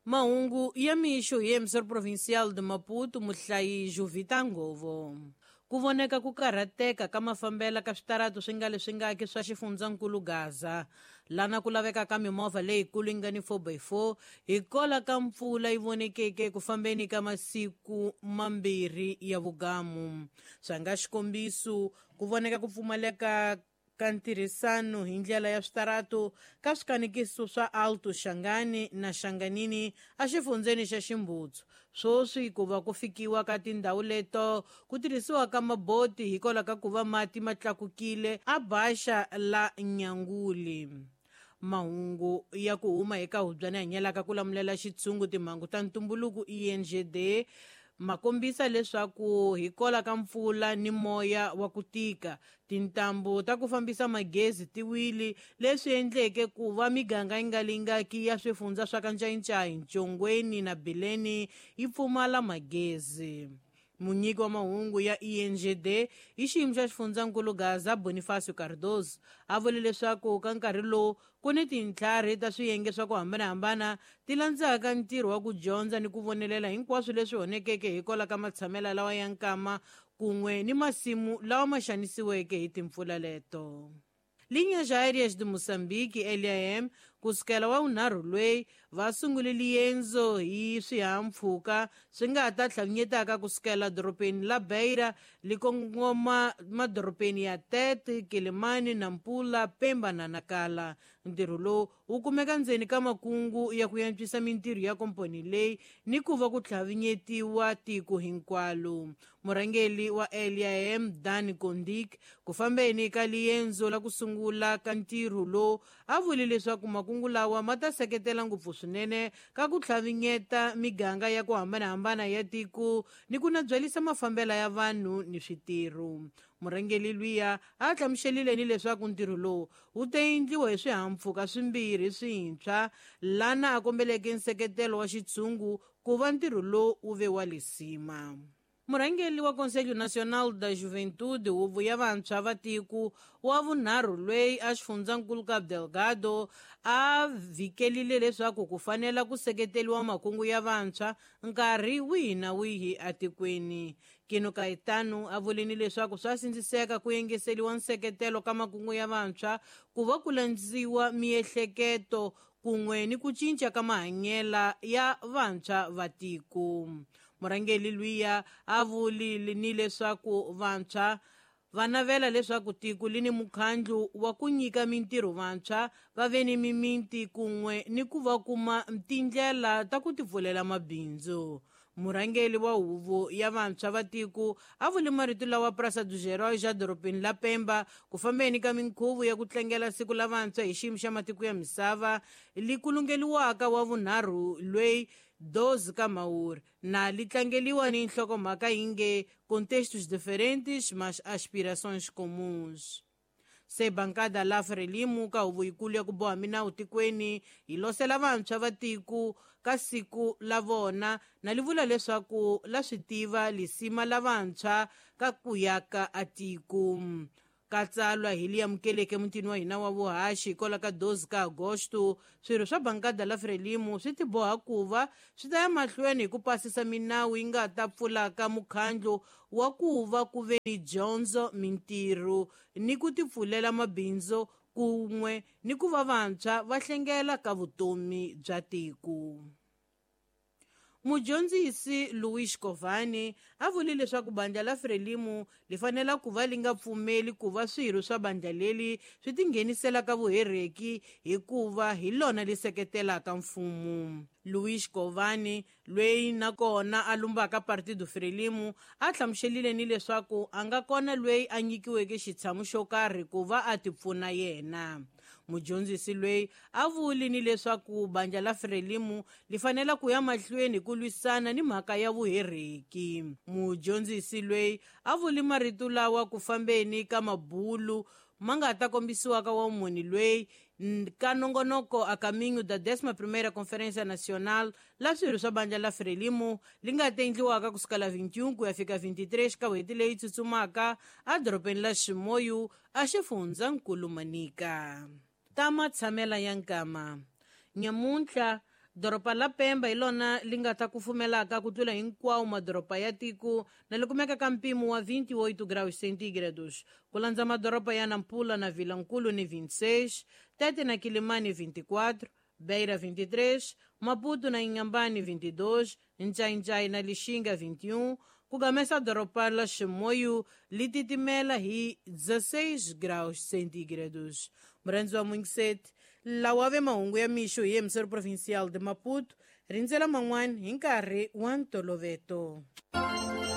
Mahungu ya mixo hi emissor provincial de Maputo, muhlayi Jovita Ngovo. Ku voneka ku karhateka ka mafambela ka switaratu swi nga leswi ngaki swa xifundzankulu Gaza, lana ku laveka ka mimovha leyikulu yi nga ni 4x4 hikola ka mpfula yi vonekeke ku fambeni ka masiku mambirhi ya vugamu. Swa nga xikombiso, ku voneka ku pfumaleka ka ntirhisano hi ndlela ya switaratu ka swikanekiso swa Alto Xangani na Xanganini exifundzeni xa Ximbutsu. Swoswi ku va ku fikiwa ka tindhawu leto ku tirhisiwa ka maboti hikwalaho ka ku va mati ma tlakukile a Baxa la Nyanguli. Mahungu ya ku huma eka hubyana hanyelaka ku lamulela xitshungu timhangu ta ntumbuluko ENGD ma kombisa leswaku hikola ka mpfula ni moya wa ku tika, tintambu ta ku fambisa magezi ti wile, leswi endleke ku va miganga yi nga lingaki ya swifundza swa ka Ncayincai, Ntshongweni na Bileni yi pfumala magezi. Munyiki wa mahungu ya ENGD hi xiyimo xa xifundzankulu Gaza, Bonifacio Cardoso, a vule leswaku ka nkarhi lowu ku ni tintlhari ta swiyenge swa ku hambanahambana ti landzaka ntirho wa ku dyondza ni ku vonelela hinkwaswo leswi honekeke hikwalaho ka matshamela lawa ya nkama kun'we ni masimu lawa ma xanisiweke hi timpfula leto. Linhas Aéreas de Moçambique, LAM, kusukela wa vunharhu lweyi va sungule liendzo hi swihahampfhuka swi nga ta tlhavinyetaka kusukela dorobeni la Beira li kongoma madorobeni ya Tete, Quelimane, Nampula, Pemba na Nacala. Ntirho lowu wu kumeka ndzeni ka makungu ya ku antswisa mintirho ya komponi leyi ni ku va ku tlhavinyetiwa tiko hinkwalo. Murhangeri wa LAM Dan Kondik ku fambeni ka liendzo la ku sungula ka ntirho lowu a vule leswaku makungu lawa ma ta seketela ngopfu swinene ka ku tlhavinyeta miganga ya ku hambanahambana ya tiko ni ku nabyalisa mafambela ya vanhu ni switirho. Murhangeri luya a hlamuselile ni leswaku ntirho lowu wu ta endliwa hi swihahampfhuka swimbirhi swintshwa, lana a kombeleke nseketelo wa xitshungu ku va ntirho lowu wu ve wa lisima. Murhangeri wa Conselho Nacional da Juventude, huvo ya vantshwa va tiko wa vunharhu lweyi a xifundzankulu Cabo Delgado, a vhikelile leswaku ku fanela ku seketeriwa makungu ya vantshwa nkarhi wihi na wihi etikweni. Kino Caetano a vulini leswaku swa sindziseka ku yengeseriwa nseketelo ka makungu ya vantshwa ku va ku landziwa miehleketo kun'we ni ku cinca ka mahanyela ya vantshwa va tiko. Murhangeri luya a vulile ni leswaku vantshwa va navela leswaku tiko li ni mukhandlu wa ku nyika mintirho vantshwa va ve ni mimiti kun'we ni ku va kuma tindlela ta ku tipfulela mabindzu. Murhangeri wa huvo ya vantshwa va tiko a vule marito lawa Praça dos Heróis edorobeni la Pemba ku fambeni ka minkhuvo ya ku tlangela siku la vantshwa hi xiyimo xa matiko ya misava li kulungeliwaka wa vunharhu lweyi 12 ka Mhawuri na li tlangeliwa ni nhlokomhaka yi nge Contextos diferentes, mas aspirações comuns. Se bankada la Frelimo ka huvo yikulu ya ku boha minawu tikweni yi losela vantshwa va tiko ka siku la vona na li vula leswaku la swi tiva lisima la vantshwa ka ku yaka a tiko. Ka tsalwa hi li amukeleke mutini wa hina wa vuhaxi hikwalaho ka 12 ka Agosto, swirho swa bankada la Frelimo swi tiboha ku va swi ta ya mahlweni hi ku pasisa minawu yi nga ta pfulaka mukhandlu wa ku va ku ve ni dyondzo, mintirho ni ku tipfulela mabindzu kun'we ni ku va vantshwa va hlengela ka vutomi bya tiko. Mudyondzisi Luis Covani a vule leswaku bandla la Frelimo li fanela ku va li nga pfumeli ku va swirho swa bandla leri swi tinghenisela ka vuhereki hikuva hi lona li seketelaka mfumo. Luis Covani lweyi nakona a lumbaka Partido Frelimo a hlamuselile ni leswaku a nga kona lweyi a nyikiweke xitshamu xo karhi ku va a tipfuna yena. Mudyondzisi lweyi a vuli ni leswaku bandla la Frelimo li fanela ku ya mahlweni ku lwisana ni mhaka ya vuhereki. Mudyondzisi lweyi a vuli marito lawa ku fambeni ka mabulu ma nga ta kombisiwaka wa munhu lweyi ka nongonoko a caminho da 11ª Conferência Nacional la swirho swa bandla la Frelimo li nga ta endliwaka kusukela 21 ku ya fika 23 ka n'hweti leyi tsutsumaka edorobeni la Chimoio a xifundzankulu Manica. Ta matshamela ya nkama nyamuntlha Doroba la Pemba hi lona li nga ta kufumelaka ku tlula hinkwawo madoroba ya tiko na li kumeka ka mpimo wa 28 graus centígrados. Ku landza madoroba ya Nampula na Vilankulu ni 26, Tete na Quilimane 24, Beira 23, Maputo na Inhambane 22, Ncaincaí na Lixinga 21, ku gamesa doroba la Chimoio li titimela hi 16 graus centígrados. Murhandzi wa Mungiseti, lawa ve mahungu ya mixo hi emisseur provincial de Maputo, rindzela man'wana hi nkarhi wa ntoloveto.